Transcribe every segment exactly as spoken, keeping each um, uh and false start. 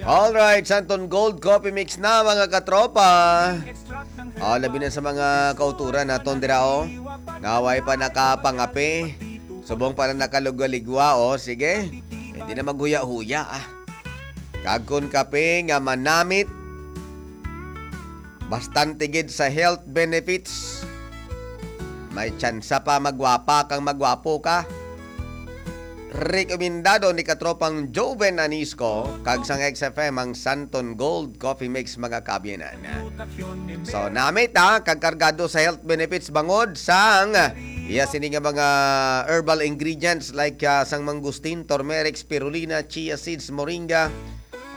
Alright, Santon Gold Coffee Mix na, mga katropa. Oh, labi na sa mga kauturan naton dira, oh. Nga way pa nakapangape. Subong pa na nakaligwa-ligwa, oh. Sige. Hindi na maghuya-huya, ah. Kag kun kape nga manamit, bastante gid sa health benefits. May tsansa pa magwapa kang magwapo ka. Rekomendado ni katropang Joven Anisco kag sang X F M ang Santon Gold Coffee Mix, mga kaabyanan. So, namit, ha, kag kargado sa health benefits bangod sang iya sini nga mga herbal ingredients like, ah, sang mangustin, turmeric, spirulina, chia seeds, moringa,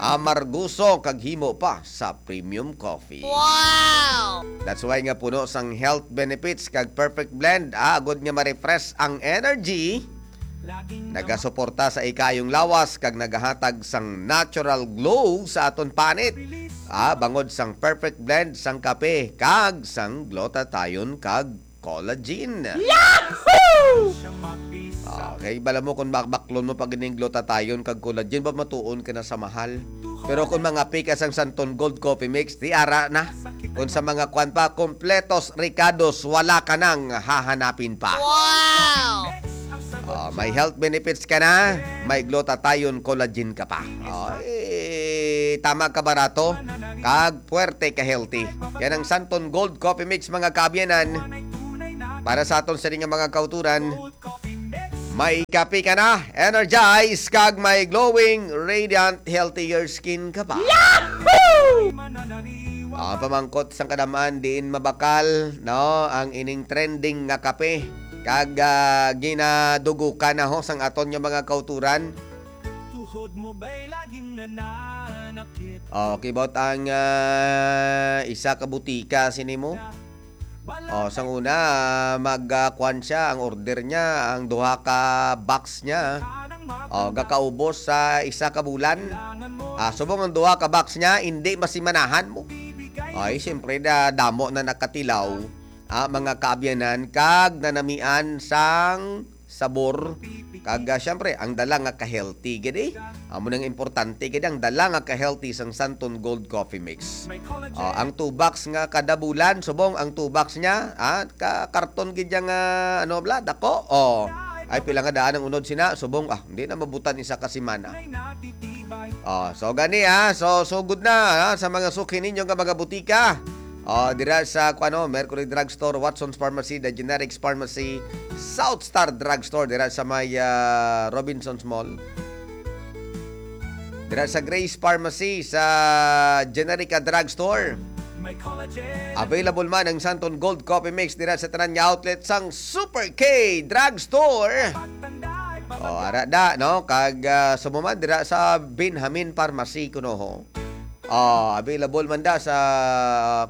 amargoso, kag himo pa sa premium coffee. Wow! That's why nga puno sang health benefits kag perfect blend, ah, agod nga ma-refresh ang energy, nagasuporta sa ikayong lawas kag nagahatag sang natural glow sa aton panit. Ah, bangod sang perfect blend sang kape kag sang glutathione kag collagen. Yahoo! Okay, bala mo kung bakbaklon mo pag ining glutathione kag collagen, ba matuon ka na sa mahal? Pero kung mangape ka sang Santon Gold Coffee Mix, di ara na. Kung sa mga kwan pa, kompletos, rekados, wala ka nang hahanapin pa. Wow! Oh, may health benefits ka na, may glutathione collagen ka pa. Oh, eh, tama ka barato, kag puwerte ka healthy. Yan ang Santon Gold Coffee Mix, mga kaabyanan. Para sa aton sini nga mga kauturan, may kape ka na, energized, kag may glowing, radiant, healthier skin ka pa. Yahoo! Ang pamangkot sang kadaman diin mabakal, no, ang ining trending nga kape. Kag, ah, ginadugukan na ho sang aton nga mga kauturan. Tuhod mo ba'y laging nananakit? Oh, kibot ang, ah, isa ka butika sini mo. Oh, sang una, ah, mag, ah, kwan siya, ang order niya, ang duha ka box niya. Oh, gakaubos sa isa ka bulan. Ah, subong ang duha ka box niya, hindi masimanahan mo. Ay, siyempre, na damo na nakatilaw, ah, mga kaabyanan, kag nanamian sang sabor. Kag, ah, siyempre, ang dala nga ka-healthy gid, eh. Amo nang importante gid ang dala nga ka-healthy sang Santon Gold Coffee Mix. Ah, ang two box nga kada bulan, subong ang two box niya, ah, ka karton gid yang, ah, ano bla, dako. Oh. Ay, pila nga daan ang unod sina, subong, ah, hindi na mabutan isa ka semana. Oh, so gani, ah, so sugod na, ah, sa mga suki ninyo nga mga butika. Oh, dira sa, kuano, Mercury Drugstore, Watson's Pharmacy, The Generics Pharmacy, South Star Drugstore, dira sa may, ah, Robinson's Mall. Dira sa Grace Pharmacy, sa Generica Drugstore. Available man ang Santon Gold Coffee Mix dira sa tanan nga outlet sang Super K Drugstore. Oh, ara da, no? Kag, ah, sumuman dira sa Benjamin Pharmacy kuno ho. Oh, available man da sa,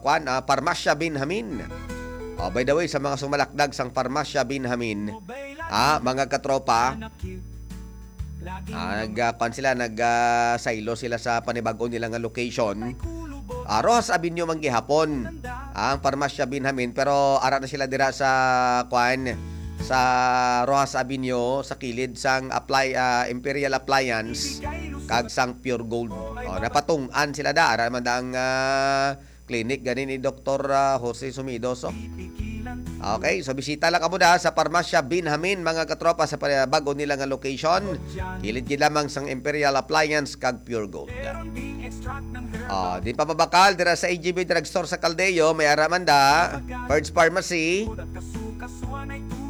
kwan, ah, Parmasya Benjamin. Oh, by the way, sa mga sumalakdag sang Parmasya Benjamin, ah, mga katropa, ah, nag, ah, kwan sila, nag, ah, saylo sila sa panibag-o nila nga location. Ah, Rojas Avenue man gihapon ang Parmasya Benjamin, pero ara na sila dira sa, kwan, sa Rojas Avenue, sa kilid sang apply, ah, Imperial Appliance kag sang Pure Gold. Oh, napatung-an sila da, ara man da ang, ah, clinic gani ni Doktor, ah, Jose Sumido. So, okay, so bisita lang kamo da sa Parmasya Benjamin, mga katropa, sa pa-, bag-o nila nga location. Kilid gid lamang sang Imperial Appliance kag Pure Gold. Ah, di pa mabakal, dira sa A G B Drugstore sa Caldeo, may ara man da, Purge Pharmacy.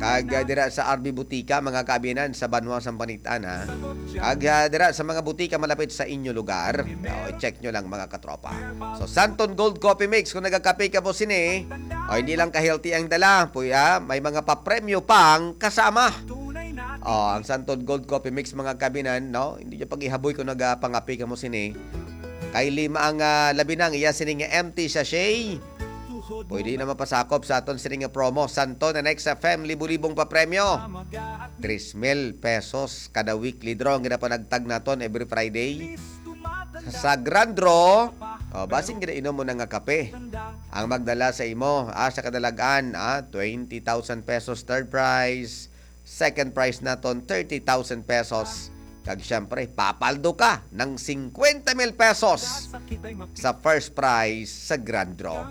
Kag, ah, dira sa R B Butika, mga kaabyanan, sa Banwa, Sampanitan, ha. Kag, ah, dira sa mga butika malapit sa inyo lugar. Oh, i-check nyo lang, mga katropa. So, Santon Gold Coffee Mix, kung nagakape ka po sini, oh, hindi lang ka-healthy ang dala, puya, may mga papremyo pang kasama. Oh, ang Santon Gold Coffee Mix, mga kaabyanan, no? Hindi nyo pag-ihaboy kung nagapangape ka mo sini. Kay lima ang, ah, labi na ang iya sini nga empty sachet. Pwede na mapasakop sa aton sini nga promo. Santon and X F M, libo-libong papremyo. Tres mil pesos kada weekly draw ang ginapanagtag naton every Friday. Sa Grand Draw, oh, basin ginainom mo na nga kape. Ang magdala sa imo, ah, sa kadalagan, ah, twenty thousand pesos third prize, second prize naton, thirty thousand pesos. Kag syempre, papaldo ka ng singkwenta mil pesos sa first prize sa grand draw.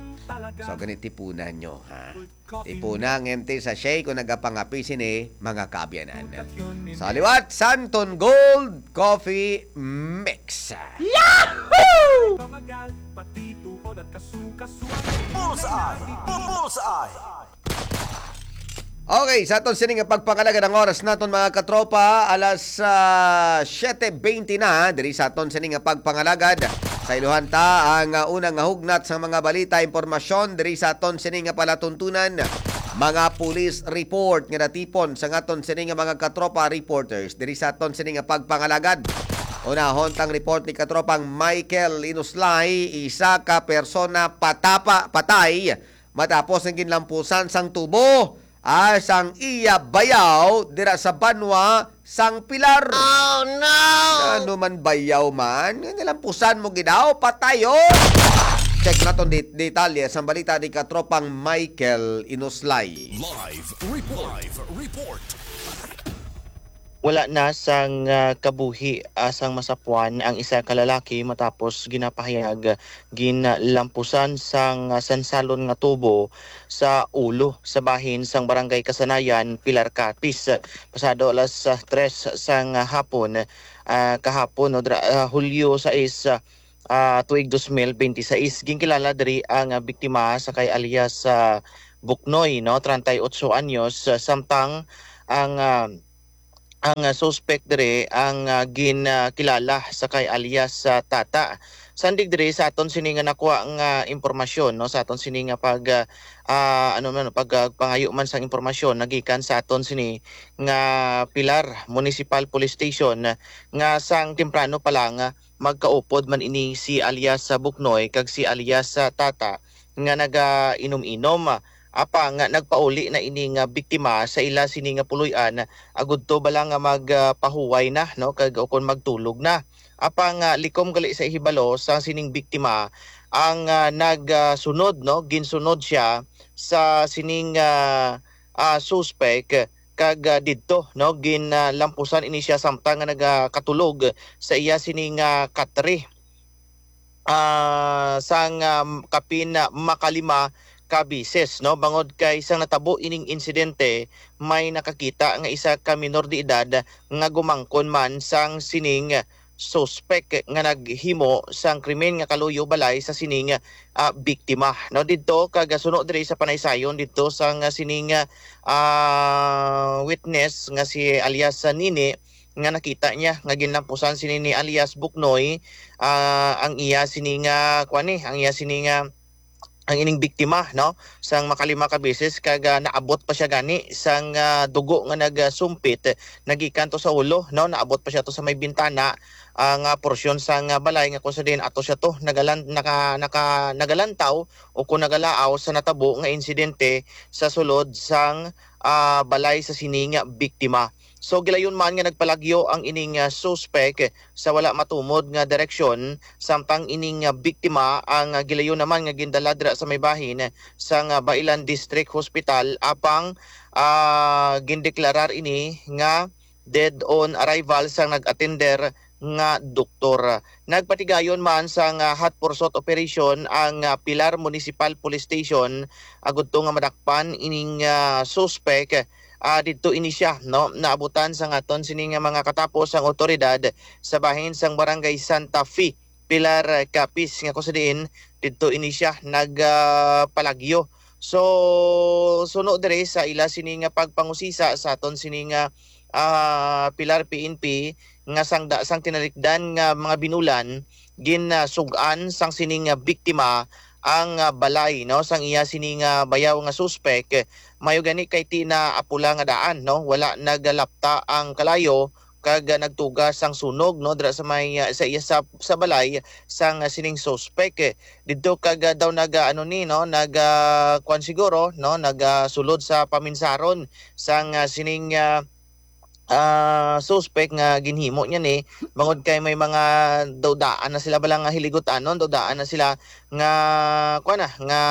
So, ganit tipunan nyo, ha? Ipuna ang empty sachet kung nagapangapi sini, mga kaabyanan. Sa liwat, Santon Gold Coffee Mix. Yahoo! Bullseye! Bu- Bullseye! Okay, sa aton sini nga pagpangalagad, ang oras naton, mga katropa, alas ah, siete veinte na. Diri sa aton sini nga pagpangalagad, sa iluhan ta ang ah, unang nga hugnat sa mga balita, impormasyon diri sa aton sini nga palatuntunan. Mga police report nga natipon sa aton sini nga mga katropa reporters diri sa aton sini nga pagpangalagad. Unahon tang report ni katropang Michael Inuslay, isa ka persona patapa patay matapos ang ginlampusan sang tubo, ah, sang iya bayaw dira sa banwa sang Pilar. Oh, no! Ano man bayaw man, nga nilampusan mo gid daw, patay, oh! Check naton det-, detalye sang balita ni katropang Michael Inuslay. Live report. Live report. Wala na sang ah, kabuhi ah, sang masapuan ang isa ka lalaki matapos ginapahayag ginlampusan sang ah, sansalon nga tubo sa ulo sa bahin sang Barangay Kasanayan, Pilar Capiz. Pasado alas ah, tres sang ah, hapon, ah, kahapon, no, dra- ah, Hulyo sais, ah, ah, tuig dos mil benti sais, ginkilala diri ang ah, biktima sa kay alias ah, Buknoy, no, treinta y ocho anyos, ah, samtang ang ah, ang ah, suspect diri ang ah, gin ah, kilala sa kay alias sa Tata. Sandig diri sa aton sini nga nakuha nga impormasyon, no, sa aton sini nga pag ah, ah, ano man pag ah, pangayo man sang impormasyon nagikan sa aton sini nga Pilar Municipal Police Station, nga sang temprano pa lang ah, magkaupod man ini si alias sa Buknoy kag si alias sa Tata nga nagainom-inom. Apang nagpauli na ini nga biktima sa ila sini nga puloy-an agudto bala nga magpahuway na, no, kag ukon magtulog na. Apang ah, likom gali sa hibalo sa sining biktima ang ah, nagsunod, no, ginsunod siya sa sining ah, ah, suspek kag ah, didto, no, ginlampusan ini siya samtang nga nagakatulog sa iya sining ah, katre ah, sang ah, kapin ah, makalima ka bisis, no? Bangod kay sang natabo ining insidente, may nakakita nga isa ka minor de edad nga gumangkon man sang sining suspek nga naghimo sang krimen nga kaluyo balay sa sining ah, biktima, no? Didto kag suno diri sa panaysayon didto sang sining ah, witness nga si alias Nini, nga nakita niya nga ginlampusan sini ni alias Buknoy, ah, ang iya sini nga, kuan ni, ang iya sini nga, ang ining biktima, no, sang makalima ka beses kag ah, naabot pa siya gani sang ah, dugo nga nagasumpit nagikan to sa ulo, no, naabot pa siya to sa may bintana, ah, nga porsyon sang ah, balay nga kung sa din ato siya to nagalan naka, naka nagalantaw o kung nagalaaw sa natabo nga insidente sa sulod sang ah, balay sa sini nga biktima. So gilayon man nga nagpalagyo ang ining ah, suspek sa wala matumod nga direksyon, samtang ining ah, biktima ang ah, gilayon naman nga gindala dira sa may bahin sang ah, Bailan District Hospital, apang ah, gindeklarar ini nga dead on arrival sang nag-atender nga doktor. Nagpatigayon man sang ah, hot pursuit operation ang ah, Pilar Municipal Police Station agud to nga madakpan ining ah, suspek. Ah, didto ini siya, no, naabutan sang aton sini nga mga katapos ang awtoridad sa bahin sang Barangay Santa Fe, Pilar, ah, Capiz, nga kung sa diin didto ini siya nagpalagyo. So, suno diri sa ila sini nga pagpangusisa sa aton sini nga ah, Pilar P N P, nga sang da sang tinalikdan nga mga binulan, ginasug-an sang sining biktima ang ah, balay, no, sang iya sini nga bayaw nga suspek. Mayo gani kay ti na apula nga daan, no, wala nagalapta ang kalayo kag ah, nagtuga sang sunog, no, dira sa may ah, sa iya sa, sa balay sang ah, sining suspek. Didto kag ah, daw naga ano ni, no, naga kuan siguro, no, naga sulod sa paminsaron sang ah, sining ah, ah, suspek nga ginhimo niya ni, bangod kay may mga daw daan na sila bala nga hiligutan, no? Daw daan na sila nga, kuwan na, nga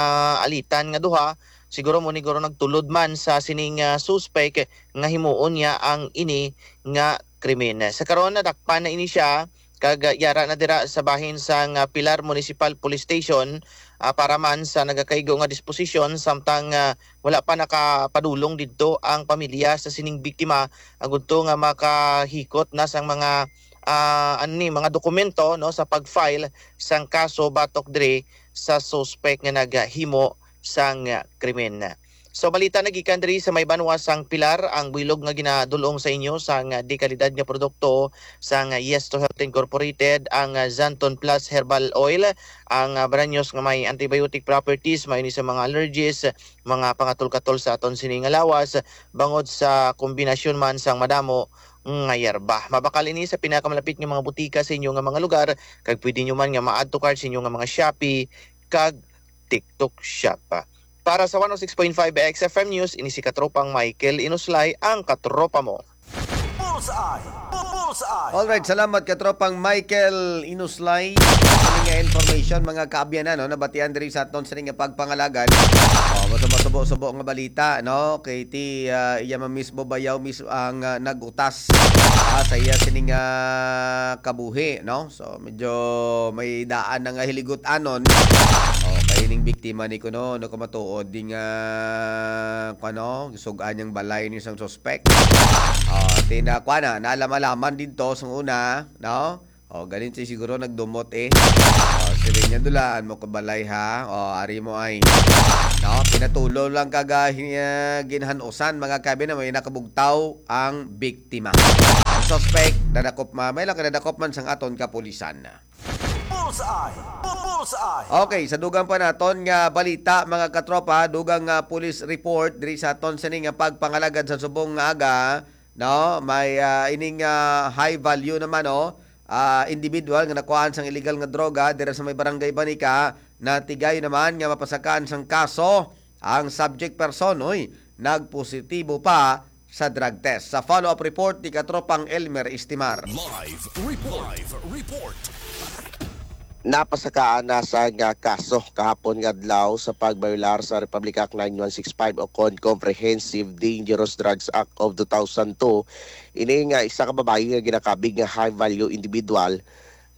alitan nga duha. Siguro mo ni guro nagtulod man sa sining ah, suspek nga himuon niya ang ini nga krimen. Sa karon, nadakpan na ini siya, kag, ah, yara na dira sa bahin sang, ah, Pilar Municipal Police Station, ah, para man sa nagakaigo nga disposisyon, samtang, ah, wala pa nakapadulong didto ang pamilya sa sining biktima, agud to nga makahikot na sang mga, ah, ano ni, mga dokumento, no, sa pag-file sang kaso batok diri sa suspek nga naghimo sang, ah, krimen. So, balita na gikan diri sa may banwa sang Pilar, ang buylog nga ginadul-ong sa inyo sang, ah, dekalidad nga produkto sang, ah, Yes to Health Incorporated, ang, ah, Xanthone Plus Herbal Oil, ang, ah, branyos nga may antibiotic properties, may ni sa mga allergies, mga pangatol-katol sa aton sini nga lawas, bangod sa kombinasyon man sang madamo nga yerba. Mabakal ini sa pinakamalapit nga mga butika sa inyo nga mga lugar, kag pwede nyo man nga ma-add to cart sa inyo nga mga Shopee kag TikTok Shop. Para sa one oh six point five X F M News, ini si Katropang Michael Inuslay, ang katropa mo. Bullseye! Bu-, Bullseye! Alright, salamat, Katropang Michael Inuslay. Kini nga information, mga kaabyanan, no, nabatian diri sa aton sini nga pagpangalagad. Oh, mas masubo-subo nga balita, no? Kay ti, ah, iya man mismo bayaw mismo ang, ah, nagutas, ah, sa iya sining, ah, kabuhi, no? So, medyo may daan na nga hiligot-anon. Oh, kay ning biktima ni kuno, no, kumatuod di nga, kuno, sug-an niyang balay ni sang suspek. Oh, ti na, kuan na, naalam-alaman didto sa una, no? Oh, ganin si siguro nagdumot eh. Oh, siling niya, "Dulaan mo ko balay, ha? Oh, ari mo ay." No, pinatulo lang kag, ah, hin-, ah, ginhanusan, mga kabi, na may nakabugtaw ang biktima. Ang suspek, nadakop ma-, may lang nadakop man sang aton kapulisan. Bullseye! Bu-, Bullseye! Okay, sa dugang pa naton nga balita, mga katropa, dugang nga police report diri sa aton sini nga pagpangalagad sa subong nga aga, no? May, ah, ining, ah, high value naman, no? Ah, individual nga nakuhaan sang illegal nga droga dira sa may barangay Banica, natigayon naman nga mapasakaan sang kaso ang subject person, oy, nagpositibo pa sa drug test. Sa follow-up report ni Katropang Elmer Estimar. Live report. Live report. Napasakaan na sang kaso kahapon nga adlaw sa pagbayolar sa Republic Act nine one six five o kon Comprehensive Dangerous Drugs Act of two thousand two. Ini nga isa ka babayi nga ginakabig nga high-value individual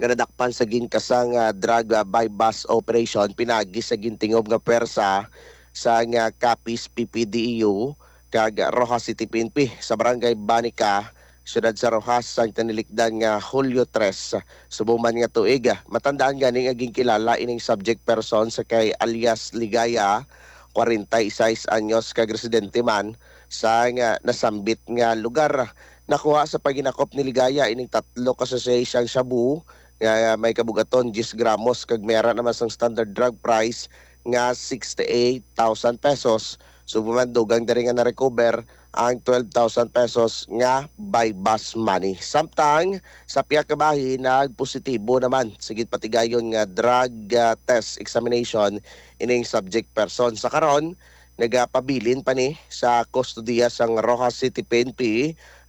nga nadakpan sa ginkasang, ah, drug, ah, buy-bust operation pinaagi sa gintingob nga pwersa sang, ah, Capiz P P D E U kag Roxas City P N P sa Barangay Banica, siyudad sa Roxas, sang tinilikdan nga Hulyo tres, subong man nga tuig. Matandaan gani nga ginkilala ining subject person sa kay alias Ligaya, kwarenta y seis anyos, kag residente man sang, ah, nasambit nga lugar. Nakuha sa paghinakop ni Ligaya ining tatlo ka sachet sang shabu nga may kabug-aton diyes gramos kag may ara naman sang standard drug price nga sixty-eight thousand pesos. Subong man, dugang diri nga na-recover ang twelve thousand pesos nga buy-bust money. Samtang sa pihak ka bahin, nagpositibo naman sa ginpatigayon nga drug, ah, test examination ining subject person. Sa karon, nagapabilin pa ni sa kustodiya sang Roxas City P N P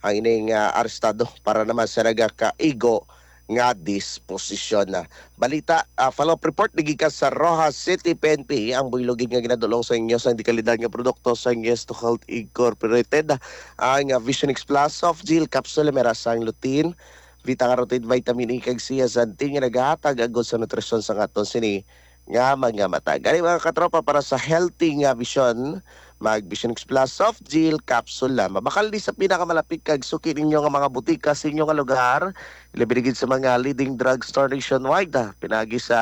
ang ining, ah, arestado para naman sa nagakaigo nga disposisyon. Balita, ah, follow-up report gikan sa Roxas City P N P, ang buylog gid nga ginadul-ong sa inyo sang dekalidad nga produkto sa Yes to Health Incorporated, ang, ah, Vision X Plus Soft Gel Capsule, may ara sang lutein, beta-carotene, vitamin E, kag zeaxanthin nga nagahatag agod sa nutrisyon sa aton sini nga mga mata. Gani, mga katropa, para sa healthy nga vision, mag Vision X Plus Soft Gel Capsule na. Mabakal ni sa pinakamalapit kag suki ninyo nga mga butika sa inyo nga lugar, labi na gid sa mga leading drugstore nationwide, ah, pinaagi sa,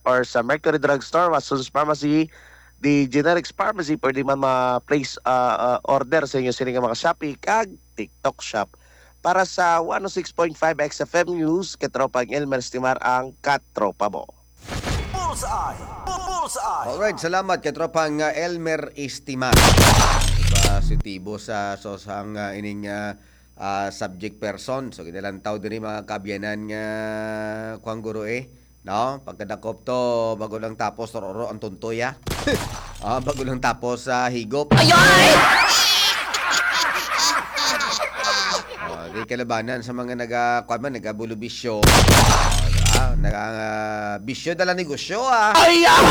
or sa Mercury Drugstore, Watson's Pharmacy, The Generics Pharmacy, pwede man ma-place, ah, ah, order sa inyo sini nga mga Shopee kag TikTok Shop. Para sa one oh six point five X F M News, Katropang Elmer Estimar ang katropa mo. Bullseye! Bu-, Bullseye! Alright, salamat, Katropang, ah, Elmer Estimar. Positibo sa, so, sang, ah, ining, ah, ah, subject person. So, ginalantaw diri, mga kaabyanan, nga kuwang guro, eh, no? Pagkadakop to, bago lang tapos, roro ang tuntoy, ah. Ah, bago lang tapos sa higop. Ay, ay! Oh, di kalabanan sa mga naga-, kuwan man, nagabulubisyo. Oh, di ba? Naga-, ah, bisyo na lang negosyo, ah. Ay, ah!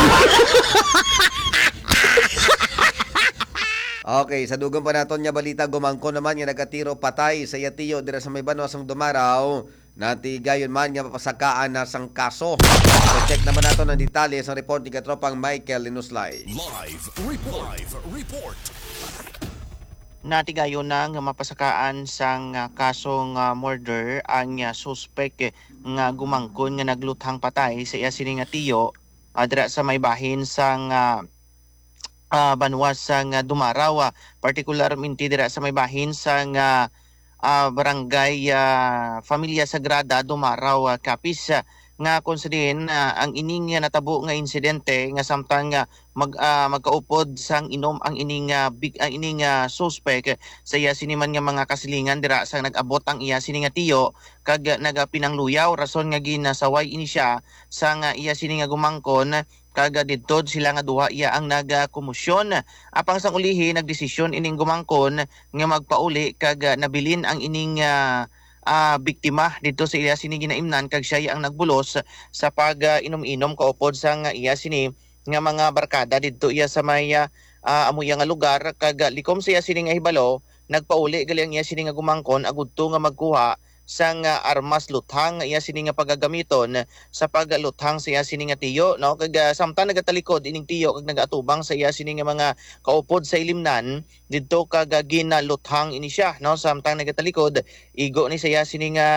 Okay, sa dugang pa naton nga balita, gumangko naman nga nagatiro patay sa iya tiyo dira sa may banwa sang Dumaraw. Natigayon man nga mapasakaan na sang kaso. So, check naman nato ang detalye sa report ni Katropang Michael Linuslay. Live report. Live report. Natigayon na nga mapasakaan sang, ah, kasong, ah, murder ang, ah, suspek, eh, nga gumangkon nga nagluthang patay sa iya sini nga tiyo, ah, dira sa may bahin sang, ah, ah, banwa sang, ah, Dumaraw, ah, partikularmente dira sa may bahin sang, ah, ah, barangay, ah, Familia Sagrada, Dumaraw, ah, Capiz, ah, nga kung sa diin, ah, ang ining, ah, natabo nga insidente nga samtang, ah, mag-, ah, magkaupod sang inom ang ining, ah, big-, ang ining, ah, suspek sa iya sini man nga mga kasilingan dira sa nag-abot ang iya sini nga tiyo kag nagapinangluyaw, rason nga ginasaway ini siya sang, ah, iya sini nga gumangkon kag, ah, didto sila nga duha iya ang nagakomosyon. Apang sang ulihi, nagdesisyon ining gumangkon nga magpauli kag, ah, nabilin ang ining, ah, ah, biktima didto sa iya sini ginaimnan kag siya iya ang nagbulos sa pag, ah, inom-inom kaupod sang, ah, iya sini nga mga barkada didto iya sa may, ah, ah, amo iya nga lugar kag, ah, likom sa iya sini nga hibalo, nagpauli gali ang iya sini nga gumangkon agudto nga magkuha sang, ah, armas luthang nga iya sini nga pagagamiton sa pagluthang sa iya sini nga tiyo, no? Kag, ah, samtang nagatalikod ining tiyo kag nagaatubang sa iya sini nga mga kaupod sa ilimnan didto kag, ah, ginaluthang ini siya, no? Samtang nagatalikod, igo ni sa iya sini nga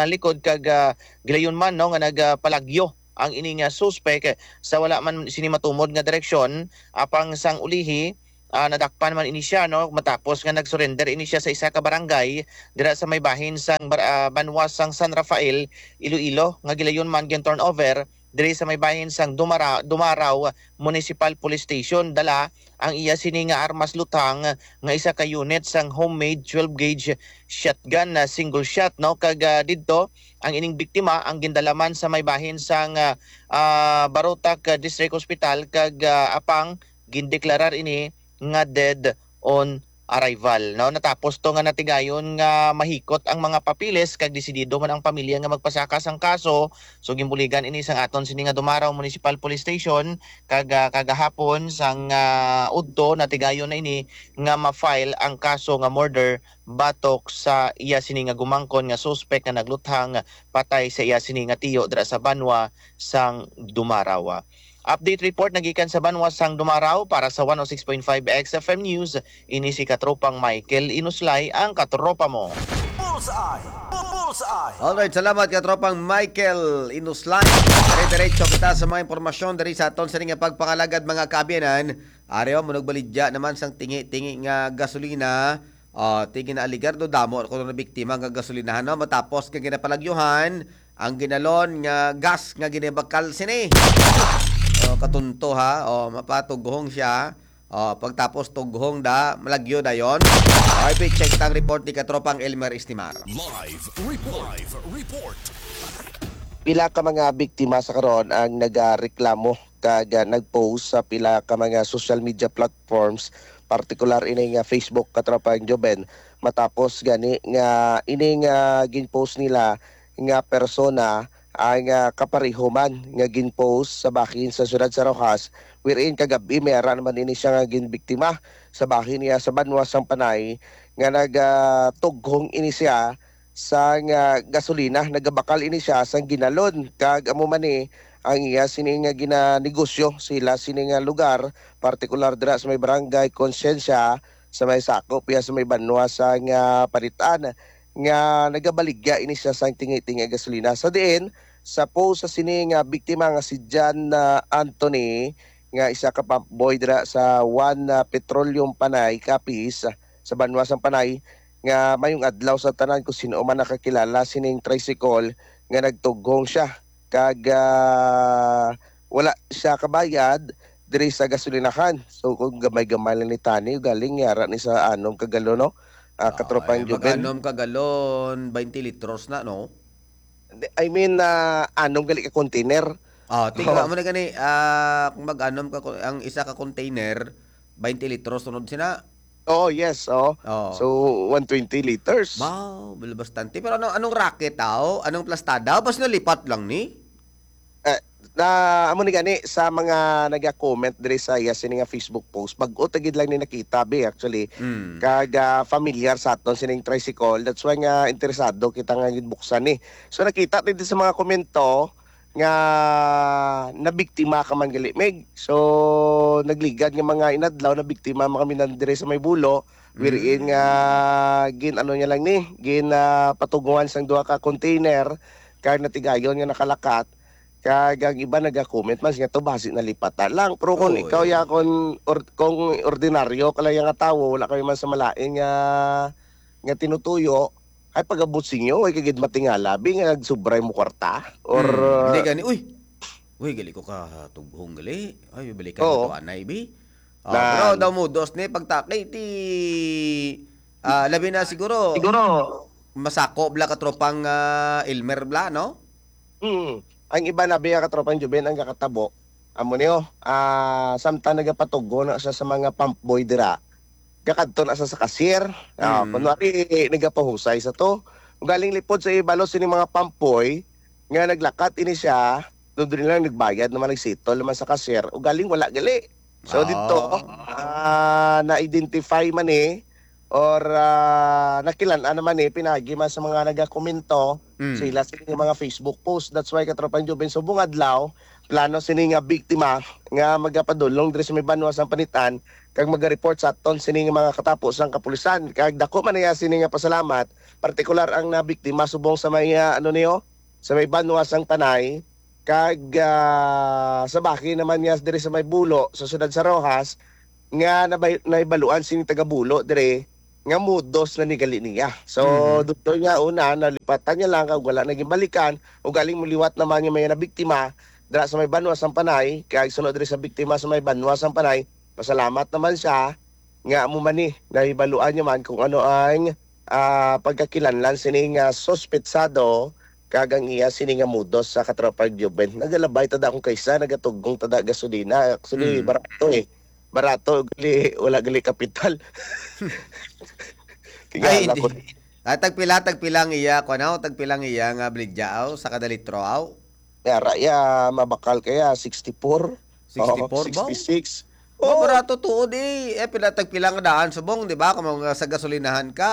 likod kag, ah, gilayon man, no, nga nagapalagyo ang ini nga suspek sa wala man sini matumod nga direksyon, apang sang ulihi, ah, nadakpan man ini siya, no, matapos nga nag-surrender ini siya sa isa ka barangay dira sa may bahin sang bar-, ah, banwa sang San Rafael, Iloilo, nga gilayon man gin-turnover diri sa may bahin sang Dumara-, Dumaraw Municipal Police Station. Dala ang iya sini nga armas luthang nga isa ka unit sang homemade twelve gauge shotgun na single shot, no, kag, ah, didto ang ining biktima ang gindala man sa may bahin sang, ah, ah, Barotac, ah, District Hospital kag, ah, apang gindeklarar ini nga dead on arrival, no? Natapos to nga natigayon nga mahikot ang mga papeles kag desidido man ang pamilya nga magpasaka sang kaso. So, ginbuligan ini sang aton sini nga Dumaraw Municipal Police Station kag, ah, kagahapon sang, ah, udto natigayon na ini nga ma-file ang kaso nga murder batok sa iya sini nga gumangkon nga suspek nga nagluthang patay sa iya sini nga tiyo dira sa banwa sang Dumaraw. Update report nagikan sa banwa sang Dumaraw para sa one oh six point five X F M News. Ini si Katropang Michael Inuslay, ang katropa mo. Bullseye! Bullseye! Alright, salamat, Katropang Michael Inuslay. Dire-diretso kita sa mga impormasyon diri sa aton sini nga pagpangalagad, mga kaabyanan. Ari, oh, manugbaligya naman sang tingi-tingi nga gasolina. Oh, ti ginaaligar do, damo kuno nabiktima nga gasolinahan, no? Matapos nga ginapalagyuhan ang ginalon nga gas nga ginabakal sini. Oh, katunto, ha. Oh, mapatughong siya. Oh, pagtapos tughong da, malagyo dayon. R B, check tang report ni Katropang Elmer Estimar. Live report. Live report. Pila ka mga biktima sa karon ang nagareklamo kag, ah, nag-post sa pila ka mga social media platforms, partikular ini nga Facebook, Katropang Joven, matapos gani nga ini nga gin-post nila nga persona ang, ah, kapareho man nga gin-post sa bahin sa siyudad sa Roxas, wherein kagab-i may ara naman ini siya nga ginbiktima sa bahin niya sa banwa sang Panay nga nag, ah, tughong ini siya sang, ah, gasolina. Nagabakal ini siya sang ginalon, kag amo man ni ang iya sini nga ginanegosyo sila sini nga lugar, partikular dira sa may barangay Conciencia, sa may sakop iya sa may banwa sang, ah, Panitan, nga nagabaligya ini siya sang tingi-tingi gasolina. Sa diin, sa post sa sini nga biktima nga si John, ah, Anthony, nga isa ka pump boy dira sa One, ah, Petroleum Panay, Capiz, sa banwa sang Panay, nga mayong adlaw sa tanan kung sino man nakakilala sining tricycle nga nagtughong siya kag, ah, wala siya kabayad diri sa gasolinahan. So, kung gamay-gamay lang ni tani, galing yara ni sa anom ka galon, no? Ah, katropang Ay, Juben. Mag-anom ka galon, twenty litros na, no? Di, I mean, ah, anom gali ka container. Ah, tingnan Oo. mo na gani, ah, kung mag-anom ka, ang isa ka container, twenty litros, sunod sina. Oo, yes, oo. Oo. So, one twenty liters. Wow, bal-, bastante. Pero ano, anong racket, tao? Anong plastada? Basta nalipat lang ni? Eh, Na, amo ni gani sa mga naga-comment diri sa iya sini nga Facebook post. Bag-o ta gid lang ni nakita, bi, actually. Mm. Kag, ah, familiar sa aton sining tricycle. That's why nga interesado kita nga gid buksan ni. So, nakita ta dito sa mga komento nga nabiktima ka man gali, Meg. So, nagligad nga mga inadlaw, nabiktima man kami nan diri sa may Bulo. Wherein Mm. nga gin-ano niya lang ni, gin, ah, patuguan sang duha ka container, kag natigayon nga nakalakat. Kag ang iba naga-comment man siya to, basi nalipatan lang. Pero kung Oo, ikaw eh. ya, kung or-, kung ordinaryo ka lang ya nga tawo, wala kami man sa malain nga, nga tinutuyo, ay pag-abot sa inyo, ay kagid matingala, bi nga nagsubray mo kwarta? Or, Hmm, hindi uh, gani, uy! Uy, gali ko ka tughong gali. Ay, balikan Oo. ko to, anay, bi. Ah, Na- pero daw mudos ni pagtaki, ti, ah, labi na siguro, Siguro. masako bla katropang, ah, Elmer bla, no? Mm. Ang iba na biya katropang Juben ang gakatabo. Amo niyo, ah, samtang nagapatugo na siya sa mga pump boy dira, gakadto na siya sa cashier. Ah, Mm. kunwari, nagapahusay sa to. Ugaling lipod sa ibalo sini mga pump boy, nga naglakat ini siya, doon din lang nagbayad naman, nagsettle naman sa cashier. Ugaling wala gali. So, dito, Ah. ah, na-identify man eh, or, ah, nakilan-an naman eh, pinagi man sa mga nagakomento, Mm. sila sa ilang mga Facebook post. That's why, Katropang Jubin, subong adlaw, plano sini nga biktima nga magapadulong diri sa may banwa sang Panitan kag maga-report sa aton sini nga mga katapo sang kapulisan. Kag dako man niya sini nga pasalamat, partikular ang nabiktima subong sa may, ah, ano niyo, sa may banwa sang Panay, kag, ah, sa bahin naman niya diri sa may Bulo, sa siyudad sa Roxas, nga nabay-, nahibaluan sini taga Bulo diri nga mudos na ni gali niya. So, Mhm. dugtong niya una, nalipatan niya lang kag wala na ginbalikan, ugaling muliwat naman nga may nabiktima dira sa may banwa sang Panay, kag suno diri sa biktima sa may banwa sang Panay, pasalamat naman siya nga amo man ni nahibaluan niya man kung ano ang, ah, pagkakilanlan sini nga suspetsado kag ang iya sini nga mudos sa Katropang Jubin. Nagalabay tada akong kaysa, nagatugong tada gasolina. Actually, Mm. barato eh. Barato, gali, wala gali kapital. Ay, Tingala hindi. ko. Ah, tagpila, tagpila ang iya, kuwan, aw, tagpila ang iya nga baligya, aw, sa kada litro, aw? Yara, ya, mabakal kaya, sixty-four. Sixty-four Oo, ba? Sixty-six. Oh, Oo. barato tuod eh. Eh, pila, tagpila nga daan subong, di ba? Kung mga sa gasolinahan ka.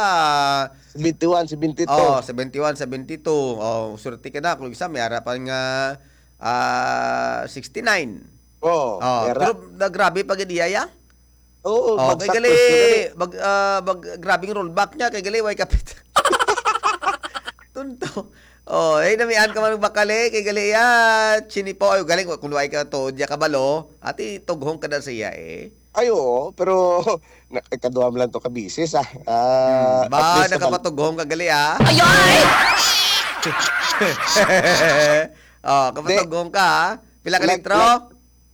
Seventy-one, seventy-two. Oh, seventy-one, seventy-two. Oh, swerte ka na. Kung isa, may ara pa nga, ah, sixty-nine. Oo, Oh, yara. pero na, grabe pa gid iya, ya? Oo, Oh, kay bagsak gali, first ko gali. mag, ah, mag, grabing rollback niya, kay gali, way kapit. Tunto. Oh, eh, namian ka man bakal eh, kay gali ya, chinipo, ay, galing, kung way ka to, diya kabalo, ati, tughong ka na siya eh. Ay, oo, pero na, ikaduha mo lang to ka bisis, ah. Ah, Hmm, at ba, least naman. nakapatughong ka gali, ah. Ay, ay! Oh, Di. kapatughong ka, ah. Pila ka Nag-, litro? nag-,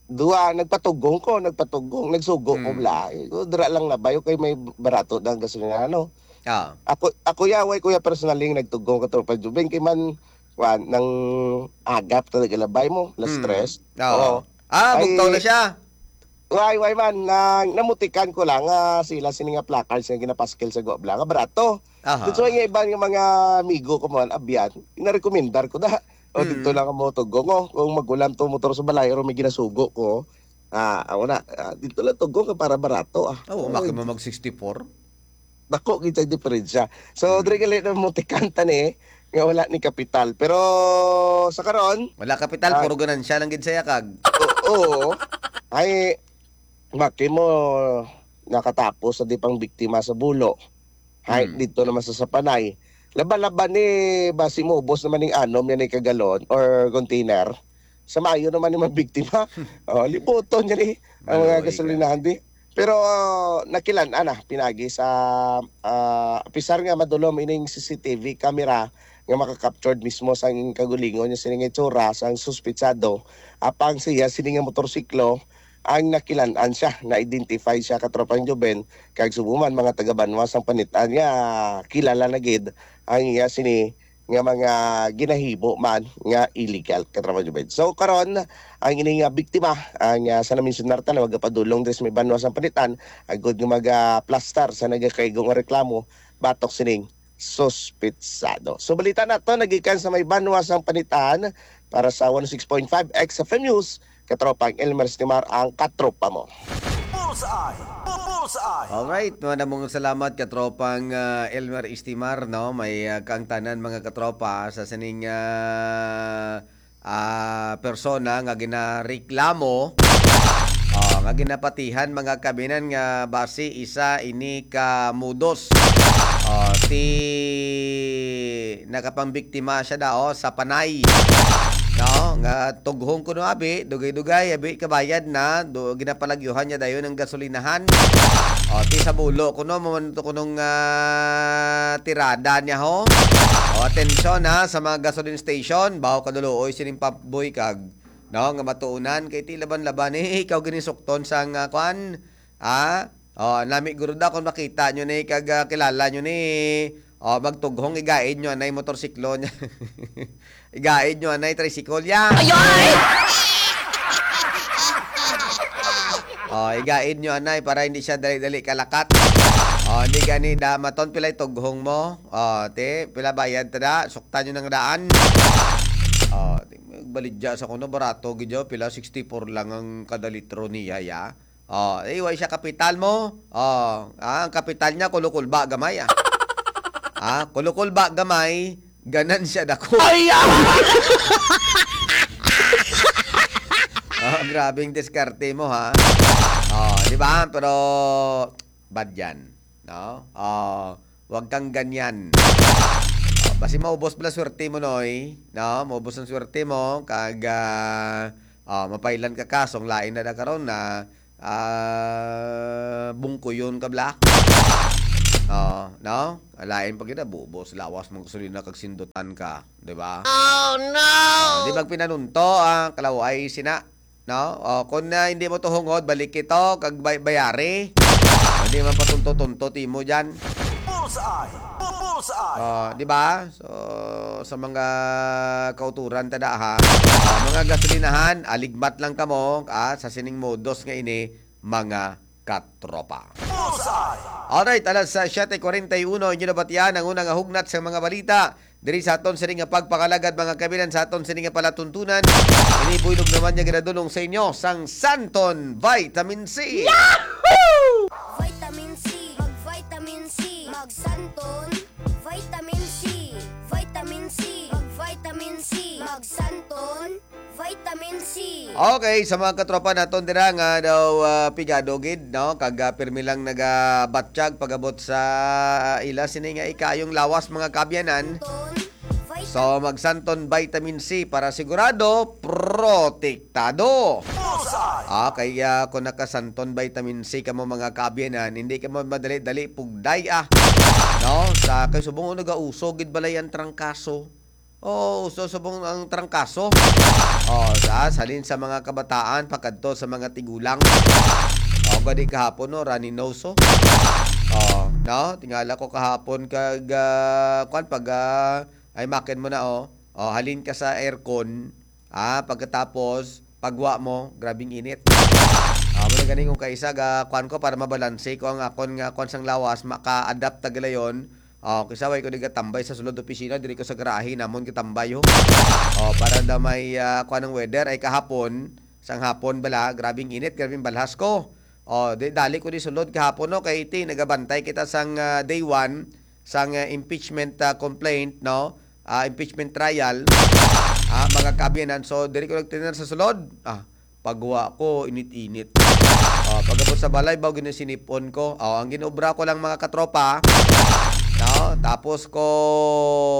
duha, nagpatughong ko, nagpatughong, nagsugo ko Hmm. bala. Eh, dira lang na bayo kay may barato na ang gasolina, ano? Ah. Ako, ako ya, way ko ya personally nga nagtughong ka, Tropa Jubin, kay man, kuwan, nang agap talaga labay mo, alas Hmm. tres. Oo. Oo. Ah, Ay, bugtaw na siya. Way, way man, na, namutikan ko lang nga sila sini nga placards nga ginapaskil sa Guabla nga barato. Aha. Dito nga iban nga mga amigo ko man, abyan, inarekomendar ko na. O, Mm. dito lang ang mga tugo ko. Kung magulam to motor sa balay, pero may ginasugo ko. Ah, ako na, ah, dito lang tugo ka para barato, ah. Oo, Oh, maki mo mag sixty-four. Dako gid ang diferensya. So, Mm. diri gali na mo tikanta ni, nga wala ni kapital. Pero sa karon, Wala kapital, ah, puro ganansya lang gid sa yakag. Oo. Ay, maki mo nakatapos sa di pang biktima sa Bulo. Hay, Hmm. dito naman sa Sapanay. Laban-laban ni, basi mo, ubos naman ning anom yan, eh, kagalon or container. Sa Mayo naman ni mabiktima. Oh, libuton yan, eh, ang mga Maluoy ka. gasolinahan, di. Pero, ah, nakilan-an na, pinagi sa, ah, apisar nga madulom ining C C T V camera nga makakaptured mismo sang kagulingon niya sining itsura sang suspitsado, apang siya sini nga motorsiklo ang nakilan-an siya, na-identify siya, Katropang Joven, kag subong man mga taga-banwa sang Panitan nga kilala na gid ang iya sini nga mga ginahimo man nga illegal, Katropang Joven. So, karon, ang ini nga biktima, ang, ah, sa naminsunar ta na magapadulong diri sa may banwa sang Panitan, agud nga magaplastar sa nagakaigo nga reklamo batok sining suspitsado. So, balita na to nagikan sa may banwa sang Panitan para sa one oh six point five X F M News. Katropang Elmer Estimar ang katropa mo. Bullseye! Bullseye! Alright, madamong salamat katropang ah, Elmer Istimar, no? May ah, kaangtanan, mga katropa, sa sining ah, ah, persona nga ginareklamo, ah, nga ginapatihan, mga kabinan, nga basi isa ini ka mudos. Ah, ti nakapangbiktima siya dao sa Panay, no? Nga tughong kuno abi, dugay-dugay abi kabayad na, do, ginapalagyuhan niya dayon ang gasolinahan. O, ti sa bulo kuno, mo man to kunong ah, tirada niya ho. O, atensyon ha, sa mga gasoline station, baho kaduluoy sining paboy kag, no, nga matuunan kay ti laban-laban eh, ikaw ginisukton sang ah, kwan, ha? O, nami guro da kung makita nyo ni kag ah, kilala nyo ni. O, magtughong igaid nyo anay motorsiklo niya. Igaid nyo anay tricycle ya. Ayoy! O, igaid nyo anay para hindi siya dali-dali kalakat. O, hindi gani da maton pilay tughong mo. O, ti, pila bayad ta da, sukta nyo nang daan. O, ti, baligya sa kuno, barato gid yaw, pila sixty-four lang ang kada litro niya ya. O, eh, way siya kapital mo. O, ah, ang kapital niya kulukulba gamay ah. Ah, kulukulba gamay, ganansya dako. Ay, ah! Oh, grabing diskarte mo ha. Oh, di ba? Pero bad yan, no? Oh, wag kang ganyan. Oh, basi maubos bala swerte mo, noy, no? Maubos ang swerte mo kag ah, oh, mapailan ka kasong lain na da karon na ah, bungkuyon ka bala. Oh, no? Lain pa gid, bubos lawas mong gasolina kag sindutan ka, di ba? Oh no! Di magpinanunto ang kalaway sina, no? O, kung na hindi mo tuhungod, balik ito kag bay- bayari. Hindi man patunto-tunto timo diyan. Bullseye! Bullseye! Oh, di ba? So, sa mga kauturan ta da ha, ah, mga gasolinahan, aligmat lang kamo ah, sa sining modos nga ini, mga katropa. Bullseye! Alright, alas ah, siyete kuwarenta y uno, inyo nabatian ang una nga hugnat sa mga balita. Diri sa aton sini nga pagpangalagad, mga kabinan, sa aton sini nga palatuntunan, ini buylog naman niya ginadulong sa inyo sang Santon Vitamin C. Vitamin C, mag vitamin C, mag Santon. Vitamin C, vitamin C, mag vitamin C, mag Santon. Vitamin C. Okay, sa mga katropa naton dira nga daw ah, pigado gid, no? Kag ah, pirmi lang nagabatyag pagabot sa ah, ila sini nga ikayong lawas, mga kaabyanan. Ton. Vitamin So, mag Santon Vitamin C para sigurado protektado. Bullseye! Ah, kaya kung naka Santon Vitamin C kamo, mga kaabyanan, hindi kamo madali-dali pugday ah. No? Sa kay subong nagauso gid balay ang trangkaso. Oh, uso subong ang trangkaso. Oh, sa salin sa mga kabataan pakadto sa mga tigulang. Oh, gani kahapon, no, runny nose, oh. Oh, no? Tingala ko kahapon kag ah, kwan pag ah, ay makin mo na, oh. Oh, halin ka sa aircon. Ah, pagkatapos pagwa mo, grabing init. Ah, mo na gani kung kaisa ga kwan ko para mabalanse ko ang akon nga kwan sang lawas, maka-adapt ta galayon. Oh, kisa way ko di gatambay sa sulod opisina, diri ko sa garahe namon gatambay ho. Oh, para na may ah, kwan ang weather ay kahapon, sang hapon bala, grabing init, grabing balhas ko. Oh, di dali ko di sulod kahapon, no, kay iti nagabantay kita sang ah, day one sang ah, impeachment ah, complaint, no? Ah, impeachment trial. Ah, mga kaabyanan, so diri ko nagtener sa sulod. Ah, pagwa ko, init-init. Oh, pagabot sa balay, baw ginasinipon ko. Oh, ang ginobra ko lang, mga katropa, no? Tapos ko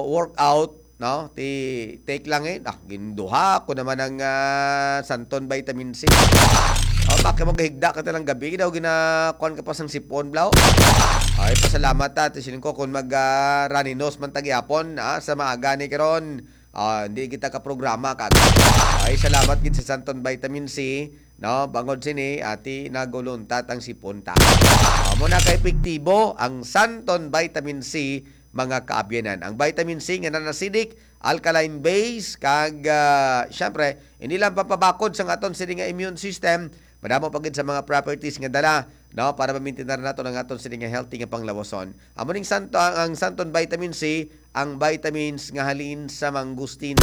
workout, no? Ti take lang eh. Ah, ginduha ko naman ang ah, Santon Vitamin C. Oh, bakit mo gahigda ka talang gabi? Daw ginakuan ka pa sang sipon, blaw? Ay, pasalamat ta. Ti siling ko, kung mag ah, runny nose man tagyapon, ah, sa maaga ni karon, ah, hindi kita ka programa kag. Ay, salamat gid sa Santon Vitamin C, no? Bangod sini, ati naguluntat ang sipon ta. Ah, mo na ka epektibo ang Santon Vitamin C, mga kaabyanan. Ang vitamin C nga non-acidic, alkaline base, kag ah, syempre, hindi lang papabakod sang aton sini nga immune system, Madamo pa gid sa mga properties nga dala, no, para mamintinar nato ang aton sini nga healthy nga panglawason. Amo ning santo, ang, ang Santon Vitamin C, ang vitamins nga halin sa mangustin.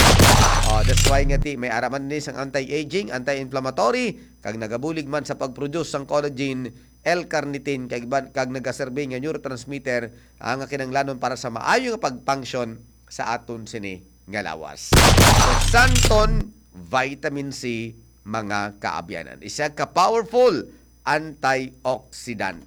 Oh, that's why nga ti may ara man ni sang anti-aging, anti-inflammatory, kag nagabulig man sa pag-produce sang collagen, L-carnitine, kag iban, kag nagaserbi nga neurotransmitter, ah, nga kinahanglanon para sa maayo nga pag-function sa aton sini nga lawas. So, Santon Vitamin C, mga kaabyanan. Isa ka powerful antioxidant.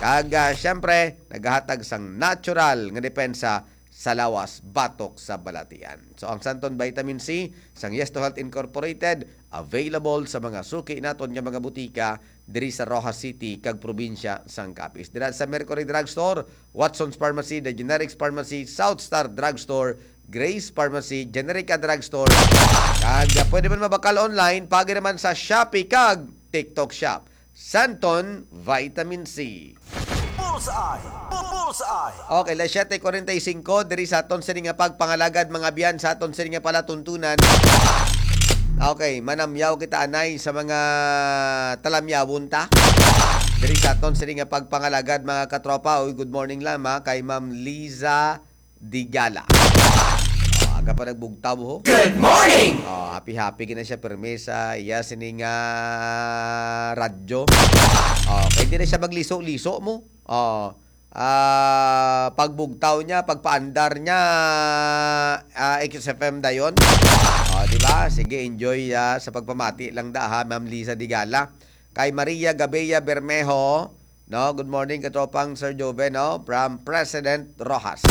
Kag, ah, siyempre, nagahatag sang natural nga depensa sa lawas batok sa balatian. So, ang Santon Vitamin C sang Yes to Health Incorporated, available sa mga suki naton nga mga butika diri sa Roxas City kag probinsya sang Capiz. Dira sa Mercury Drugstore, Watson's Pharmacy, The Generics Pharmacy, South Star Drugstore, Grace Pharmacy, Generica Drugstore. Kag, ah, pwede man mabakal online, pagi naman sa Shopee kag TikTok Shop. Santon Vitamin C. Bullseye! Bu- Bullseye! Okay, las siyete kuwarenta y singko, diri sa aton sini nga pagpangalagad, mga biyan, sa aton sini nga palatuntunan. Okay, manamyaw kita anay sa mga talamyawon ta. Diri sa aton sini nga pagpangalagad, mga katropa. Uy, good morning lang, ha, kay Ma'am Liza Digala. Oh, aga pa nagbugtaw, ho. Good morning! Oh, happy-happy gina siya, permi sa iya sini nga radyo. Oh, kay di na siya magliso-liso mo. Oh, ah, pagbugtaw niya, pagpaandar niya, ah, X F M dayon. Oh, di ba? Sige, enjoy, ah, sa pagpamati lang da, ha, Ma'am Liza Digala. Kay Maria Gabea Bermejo, no? Good morning, katropang Sir Joven, no? From President Roxas.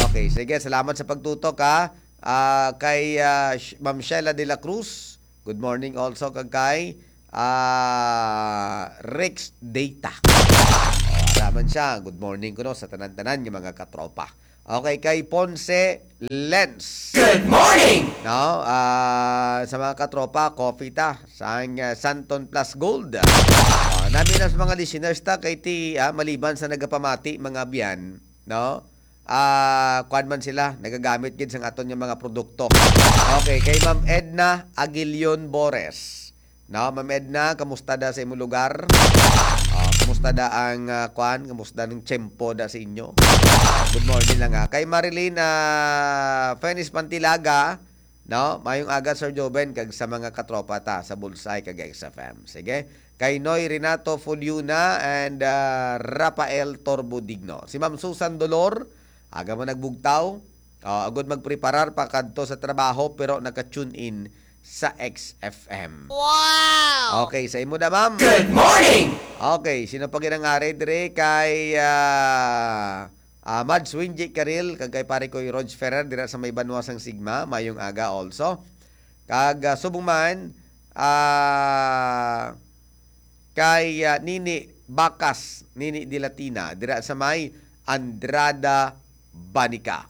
Okay, sige, salamat sa pagtutok, ha. Ah, kay, ah, Sh- Ma'am Sheila de la Cruz, good morning also. Kag kay, ah, Rex Data. Oh, ara man siya. Good morning kuno sa tanan-tanan nga mga katropa. Okay, kay Ponce Lens. Good morning! No, ah, sa mga katropa, coffee ta sang, ah, Santon Plus Gold. Ah, nami na sa mga listeners ta kay ti, ah, maliban sa nagapamati, mga biyan, no? Ah, kuwan man sila, nagagamit gid sang aton nga mga produkto. Okay, kay Ma'am Edna Aguilion Bores. No, Ma'am Edna, kamusta da sa imong lugar? Ah, kamusta da ang, ah, kuwan? Kamusta ang tiyempo da sa inyo? Ah, good morning lang, ha. Kay Marilyn, ah, Fenis Pantilaga, no? Mayong aga, Sir Joven, kag sa mga katropa ta sa Bullseye kag X F M. Sige. Kay Noy Renato Fuliuna and, ah, Rafael Torbo Digno. Si Ma'am Susan Dolor, aga man nagbugtaw. Oh, agud magpreparar pa kadto sa trabaho, pero naka-tune in sa X F M. Wow! Okay, sa imo na, ma'am. Good morning! Okay, sino pa ginangari dire kay, ah, ah, Mads Wingy Caril, kag kay pare ko Rog Ferrer dira sa may Banwa sang Sigma, mayong aga also. Kag, ah, subong man, ah, kay, ah, Nini Bakas, Nini Dilatina, dira sa may Andrada, Banica.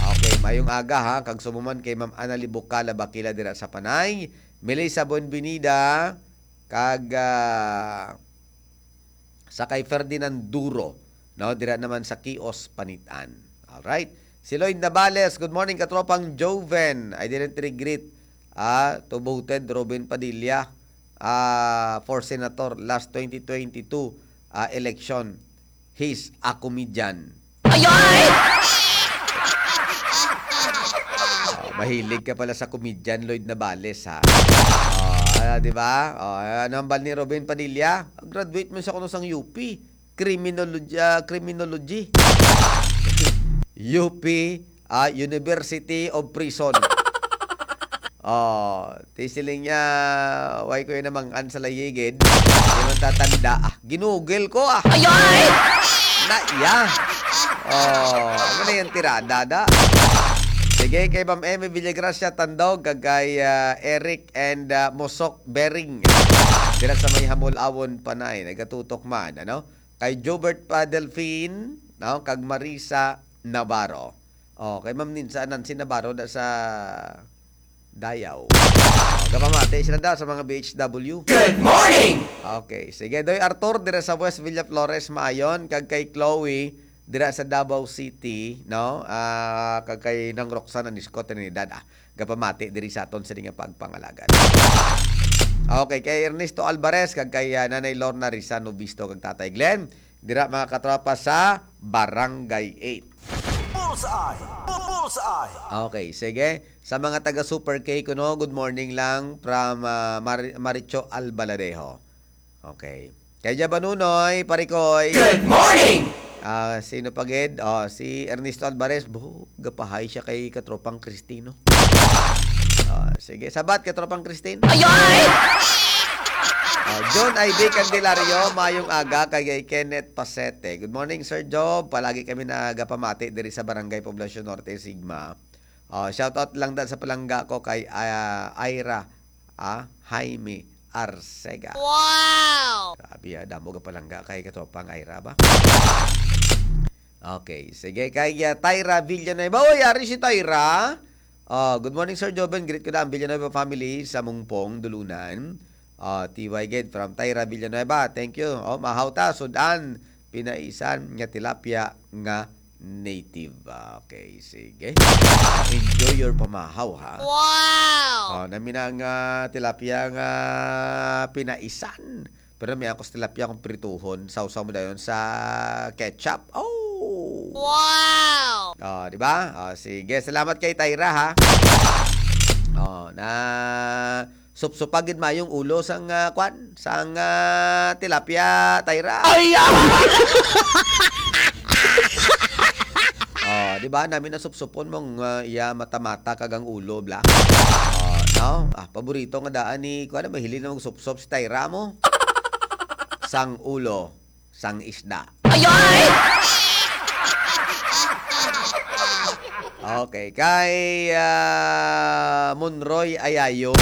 Okay, mayong aga, ha, kag subong man kay Ma'am Annalie Bucala Bakila dira sa Panay, Melissa Buenvenida, kag, ah, sa kay Ferdinand Duro, no, dira naman sa Kios, Panitan. Alright. Si Lloyd Navales, good morning, katropang Joven. I didn't regret, ah, to voted Robin Padilla, ah, for senator last twenty twenty-two, ah, election. He's a comedian. Ay, ay! Oh, mahilig ka pala sa comedian, Lloyd Navales, ha? Oh, ah, di ba? Oh, ano ang bal ni Robin Padilla? Graduate man siya kuno sang U P. Criminology, ah, criminology. U P, ah, University of Prison. Oh, ti siling niya, "Why ko yun namang-an sa layigid? Di man tatanda." Ah, ginugil ko, ah. Ay, ay! Na, iya. Oh, ano na yung tirada, da? Sige, kay Ma'am Emmy Villagracia Tandog, kag kay, ah, Eric and, ah, Mosok Bering. Dira sa may Hamulawon, Panay. Nagatutok man, ano? Kay Jobert pa Delfin, no? Kag Marisa Navarro. Oh, kay Ma'am Ninsa Nancy Navarro da sa Dayaw. Oh, gapamati sila da sa mga B H W. Good morning! Okay, sige. Doy Arthur, dira sa West Villaflores, Maayon. Kag kay Chloe, dira sa Davao City, no? Ah, kag kay Nang Roxanne Anisco, Trinidad. Ah, gapamati diri sa aton sa nga pagpangalagad. Okay, kay Ernesto Alvarez, kag kay, ah, Nanay Lorna Rizano Visto, kag Tatay Glenn. Dira, mga katropa, sa Barangay eight. Bullseye! Bullseye! Okay, sige. Sa mga taga Super K kuno, good morning lang from, ah, Mar-, Maricho Albaladejo. Okay. Kay Jabanunoy, Parikoy. Good morning! Ah, sino pa gid? Oh, si Ernesto Alvarez. Buh, gapahay siya kay katropang Cristino. Ah, sige, sabat, katropang Christine. Ayoy! Ah, John Ivy Candelario, mayong aga kay Kenneth Pasete. Good morning, Sir Job. Palagi kami nagapamati diri sa Barangay Poblacion Norte, Sigma. Ah, shout out lang da sa palangga ko kay, ah, Ira, ah, Jaime Arcega. Wow! Grabe, ah, damo ga palangga kay katropang Ira ba? Okay, sige, kay, ah, Tyra Villanueva. Oy, ari si Tyra. Ah, good morning, Sir Joven. Greet ko na ang Villanueva family sa Mungpong, Dulunan. Ah, T Y Ged from Tyra Villanueva. Thank you. Oh, mahaw ta, sudan, pinaisan nga tilapia nga native. Okay, sige. Enjoy your pamahaw, ha? Wow! Oh, nami na nga tilapia nga pinaisan. Pero may akos tilapia akong prituhon. Sausaw mo dayon sa ketchup. Oh! Wow! Oh, di ba? Oh, sige. Salamat kay Tyra, ha? Oh, na supsupa gid mayong ulo sang, ah, kwan, sang, ah, tilapia, Tyra. Ay, ah! Oh, di ba? Nami na supsupon mong, ah, iya mata-mata kag ang ulo, bla. Oh, no? Ah, paborito nga daan ni, kwan, mahilig na magsupsop si Tyra mo. Sang ulo, sang isda. Ayoy! Okay, kay, ah, Monroy Ayayo.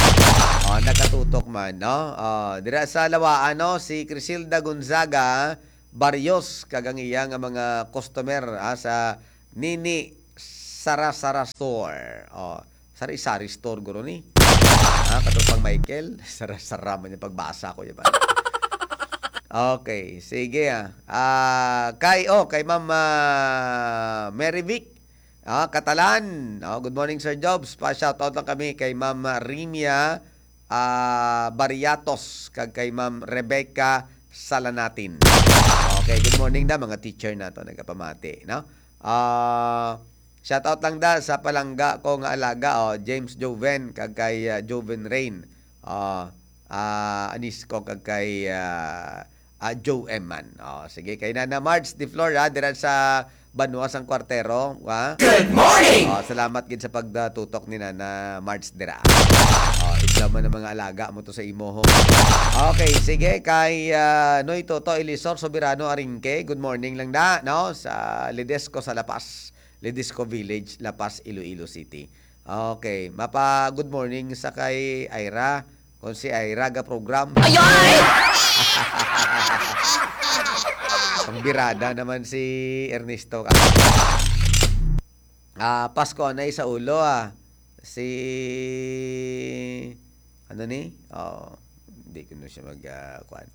Oh, nakatutok man, no? Oh, dira sa Lawaan, no? Si Crisilda Gonzaga Barrios, kag ang iya nga mga customer, ah, sa Nini Sara-Sara Store. Oh, sari-sari store, guro ni. Ah, katropang Michael, sara-sara man yung pagbasa ko, di ba? Okay, sige, ah. Ah, kay, oh, kay Ma'am, ah, Mary Vic, ah, Catalan. Oh, good morning, Sir Jobs. Pa-shoutout lang kami kay Ma'am Rimia, ah, Bariatos, kag kay Ma'am Rebecca Salanatin. Okay, good morning da, mga teacher nato, nagapamati, no? Ah, shoutout lang da sa palangga ko nga alaga, oh, James Joven, kag kay, ah, Joven Rain. Ah, ah, anis ko kag kay, ah, ah, Joe M man. Oh, sige, kay Nana Marge de Flor, ha, dira sa Banwa sang Kwartero, ha? Good morning! Oh, salamat gid sa pagtutok ni Nana Marge dira. Oh, idlaw man ang mga alaga mo to sa imo, ho. Okay, sige, kay, ah, Noy Toto Elisor Soberano Aringke, good morning lang da, no? Sa Ledesco sa La Paz, Ledesco Village, La Paz, Iloilo City. Okay, mapa good morning sa kay Ira. Kung si Ira ga program. Ayoy! Pangbirada naman si Ernesto ka. Ah, Pasko na sa ulo, ah. Si, ano ni? Oh, hindi ko na siya mag, ah, kwan.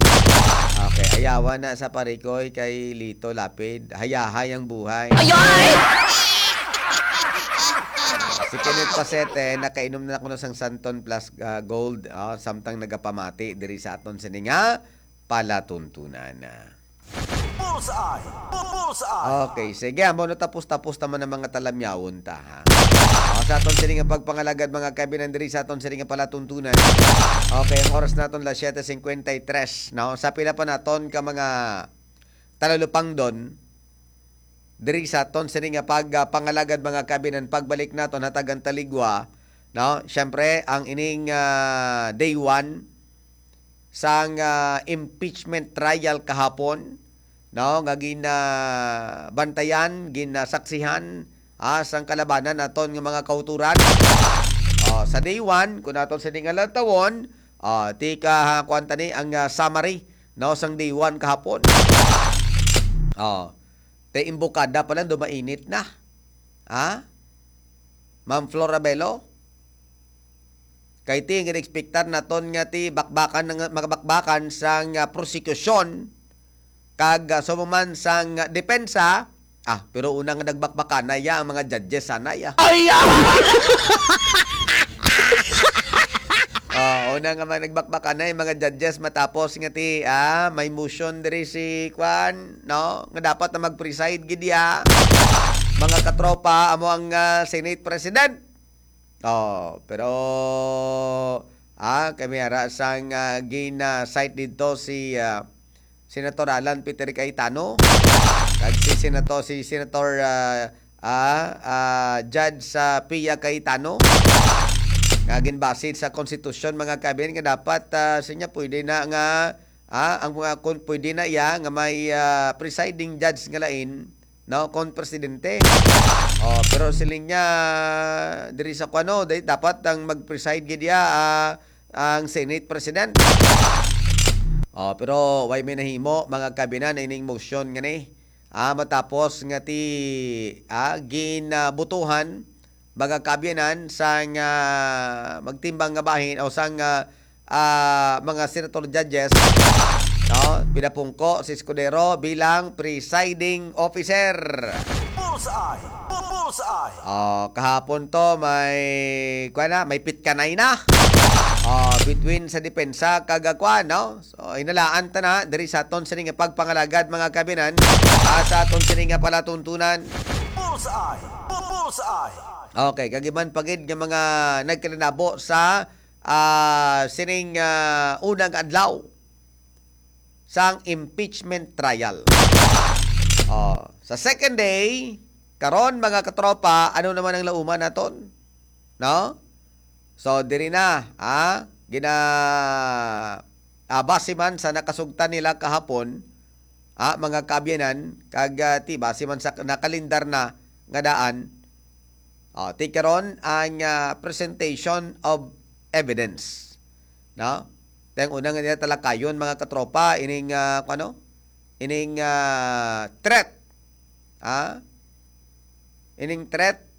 Okay, ayawan na sa Parikoy kay Lito Lapid. Hayahay ang buhay. Ayoy! Si Kenneth Pasete, nakainom na kuno sang Santon Plus, ah, Gold, ah, samtang nagapamati diri sa aton sini nga palatuntunan. Bullseye! Bullseye! Okay, sige, amo na, tapos-tapos naman ang mga talamyawon ta, ha? O, sa aton sini nga pagpangalagad, mga kaibigan, diri sa aton sini nga palatuntunan. Okay, ang oras naton las siete cincuenta y tres, no? Sa pila pa naton ka mga talalupangdon, diri sa aton sini nga pag, ah, pangalagad, mga kabinan, pagbalik naton, hatagan taligwa, no? Siyempre, ang ining, ah, day one sang, ah, impeachment trial kahapon, no? Nga ginabantayan, ginasaksihan, ah, sang kalabanan naton nga mga kauturan. Oh, sa day one, kung naton sini nga lantawon, ah, tika, ha, kuwan ta ni ang, ah, summary, no, sang day one kahapon. Oh, te imbukada pa lang, dumainit na. Ha? Ma'am Florabelo? Kay ti, gin-expectar naton nga ti bakbakan nga, magabakbakan sang, ah, prosekusyon kag, ah, sumuman sang, ah, depensa. Ah, pero una nga nagbakbakan na ya ang mga judges sana ya. Ay, ah! Ah, una nga mga nagbakbakan na yung mga judges matapos nga ti, ah, may motion diri si kwan, no? Nga dapat na mag-preside gid ya. Mga katropa, amo ang, ah, Senate President. Oh, pero, ah, kami ara sang, ah, gin, ah, cite dito si, ah, Senator Alan Peter Cayetano, kag si Senator, si Senator, ah, ah, ah, Judge, ah, Pia Cayetano, nga ginbase sa konstitusyon, mga kaabyanan, nga dapat, ah, siya pwede na nga, ah, ang mga, kung pwede na iya nga may, ah, presiding judge nga lain, no, kon presidente. Oh, pero siling niya diri sa kuno, di-, dapat ang mag-preside gid iya, ah, ang Senate President. Oh, pero way may nahimo, mga kaabyanan, ining motion nga ni. Ah, matapos nga ti, ah, ginabutuhan, mga kaabyanan, sang, ah, magtimbang nga bahin o sang, ah, ah, mga senator judges, no? Pinapungko si Escudero bilang presiding officer. Bullseye! Bu-, bullseye! Oh, kahapon to may, kuwan na, may pitkanay na. Oh, between sa depensa kag, ah, kuwan, no? So, hinalaan ta na diri sa aton sini nga pagpangalagad, mga kaabyanan, ah, sa aton sini nga palatuntunan. Bullseye! Bu-, bullseye! Okay, kag iban pa gid nga mga nagkalinabo sa, ah, sining, ah, unang adlaw sang impeachment trial. Oh, sa second day, karon, mga katropa, ano naman ang lauman naton? No? So, diri na, ah, gina-, ah, base man sa nakasugtan nila kahapon, ah, mga kaabyanan, kag, ah, ti, base man sa nakalindar na nga daan, ah, ti karon ang, ah, presentation of evidence, no? Ti ang una nga nila talakayon, mga katropa, ining, ah, kung ano? Ining, ah, threat, ah? Ining threat